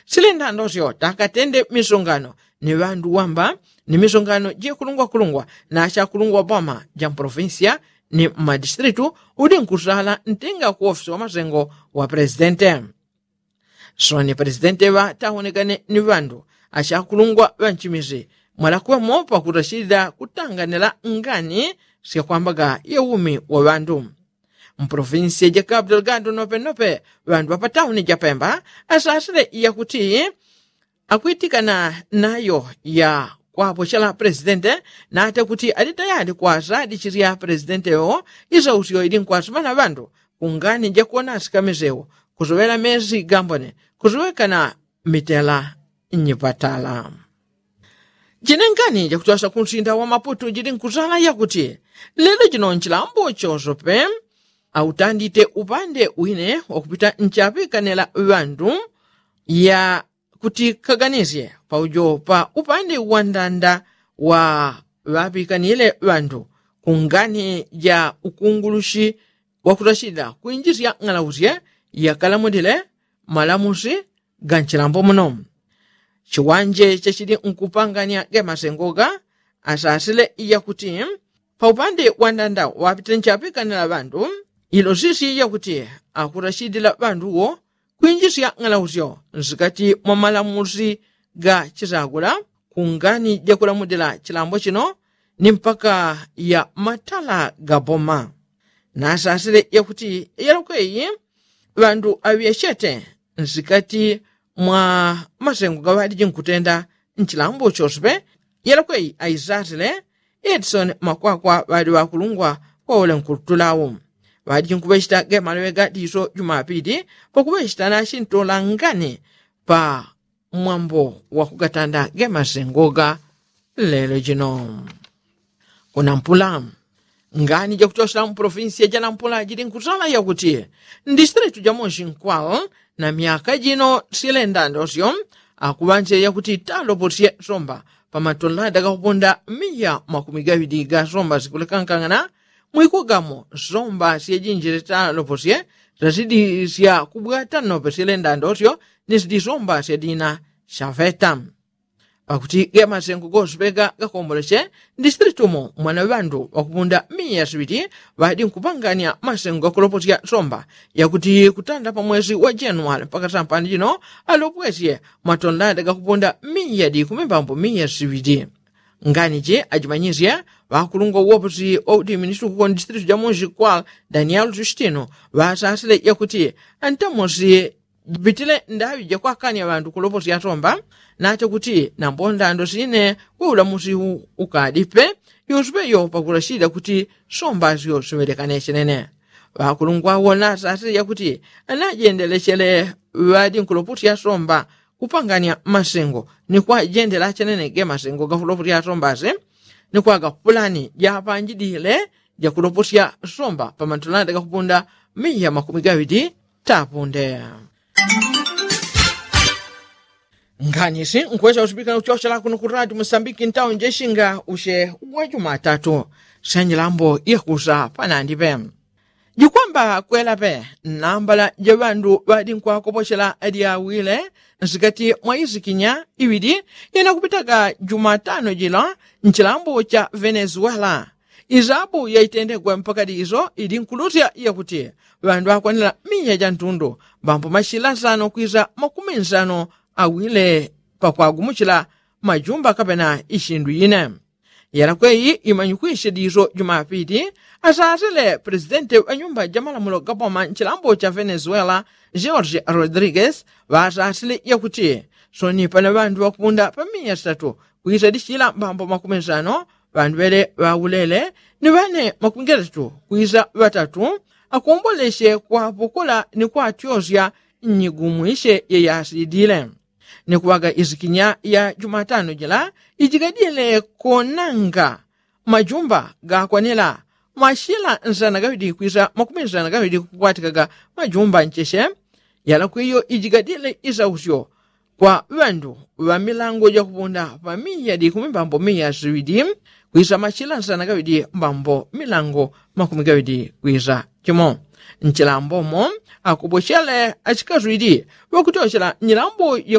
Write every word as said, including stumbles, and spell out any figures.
Silindandosyo takatende misongano ni ŵandu wamba ni misongano jikulungwakulungwa na chakulungwa boma ja mpolofinsiya ni mmadistritu udi nkusala ntinga kuofisi wa masengo wa presidente. Soni presidente ŵa taonekane ni ŵandu achakulungwa ŵa nchimizi mwalakwemo pakutachilila kutanganila ngani syakwambaga ya umi wa ŵandu. Mpolofinsiya ja kapu delgado nopenope ŵandu ŵa patauni ja pemba asasile yakuti akwitikana nayo ya kwapochela presidente nate kuti ali tayali kwasadichilya presidente yo isausyo ili nkwasumana ŵandu kungani jakuona asikamisewo kusuŵela mesi gambone kusuŵekana mitela nyipatala. Jinengani jakutyosa kunsinda wa maputu jili nkusala yakuti lelo jino nchilambo chosope autandite upande wine wakupita nchapikanela ŵandu ya kuti kaganisye paujo pa upande wa ndanda wa ŵapikanile ŵandu kungani ja ukungulushi wakutachilila kwinjisya ng'alausye yakalamulile malamusi ga nchilambo muno. Chiwanje chachili nkupanganya gemasengoga asasile yakuti paupande wa ndanda wapite nchapikanila ŵandu ilo sisi yakuti akutachilila ŵanduwo kwinjisya ng'alausyo nsikati mwa malamusi ga chisagula kungani jakulamulila chilambo chino ni mpaka ya matala ga boma. Nasasile yakuti yalokweyi ŵandu aŵyachete nsikati mwa masengo gaŵaliji nkutenda nchilambo choswe yalokweyi aisasile edison makwakwa ŵali ŵakulungwa kwaule nkutulawu ŵaliji nkuŵechita gemaloŵe ga diso jumapili pakuŵechita nachintolangani pa mwambo wakugatanda gemasengoga. Lelo jino kunampula ngani jakuchosela mu polofinsiya janampula jili nkusala yakuti ndisitilitu jamonsi nkwal na myaka jino silendandosyo akuŵanse yakuti taloposye somba pamatolada gakupunda miya makumi gaŵili ga somba sikulekankang'ana mwikugamo somba syejinjile taloposye sasidi syakubwata nope silendandosyo ni sidi somba syadina syaveta. Pakuti ge masengo gosupeka gakomboleche ndisitilitu umo mwana ŵandu ŵakupunda miya siŵili ŵadi nkupanganya masengo gakuloposya somba yakuti kutanda pa mwesi wa januwali mpaka sampani jino alopwesye matondanda gakupunda miya di kumi mbambo miya siŵili. Ngani ji ajimanyisye ŵakulungwa uwoposi wa udiministuku kondisitilitu jamunsi kwa danielu justino ŵasasile yakuti antamosi jipitile ndaŵi jakwakanya ŵandu kuloposya somba nache kuti nambo ndando sine we ulamusi ukadipe yosupe yo pakulashida kuti somba syo siŵelekane chenene. Ŵakulungwa wona sasile yakuti anajendelechele ŵadi nkuloposya somba kupanganya masengo ni kwajendela chenene ge masengo gakuloposya somba si ni kwaga pulani japanjidile jakuloposya somba pamatulanda gakupunda miya makumi gaŵili tapunde. Nganisi nkwesa usipikana kuchochela kuno ku radio musambiki ntawo njeshinga ushe wa jumatatu senjilambo yakusa panandipe. Jikwamba kwelape nambala jaŵandu ŵadi nkwakopochela adyawile nsikati mwa isikinya iŵili inakupitaga jumatano jila nchilambo cha venezuela. Isabu yaitendegwa mpaka diso ili nkulusya yakuti ŵandu akwanila miya jantundu mbambo mashila nsano kwisa makumi nsano awile pakwagumuchila majumba kapena ishindu ine. Yalakweyi imanyikwishe diso jumapili asasile presidenti wa nyumba jamalamulo gapoma nchilambo cha venezuela george rodriguez ŵasasile yakuti soni pana ŵandu ŵakupunda pa miya sitatu kwisa dichila mbambo makumi nsano ŵandu ŵele ŵaulele ni ŵane makumi gatatu kwisa ŵatatu akomboleche kwapokola ni kwatyochya nnyigumwishe yeyasilidile. Ni kuŵaga isikinya ya jumatano jila ijigadile konanga majumba gakwanila mashila nsana gaŵidi kwisa makumi nsana gaŵidi kukwatikaga majumba ncheche. Yalakwiyo ijigadile isausyo kwa ŵandu ŵa milango jakupunda pa miya di kumi mbambo miya siŵidi kwisa mashila nsana gaŵidi mbambo milango makumi gaŵidi kwisa chimo. Nchilambomo akupochele achikaswidi ŵakutyochela nyilambo yaku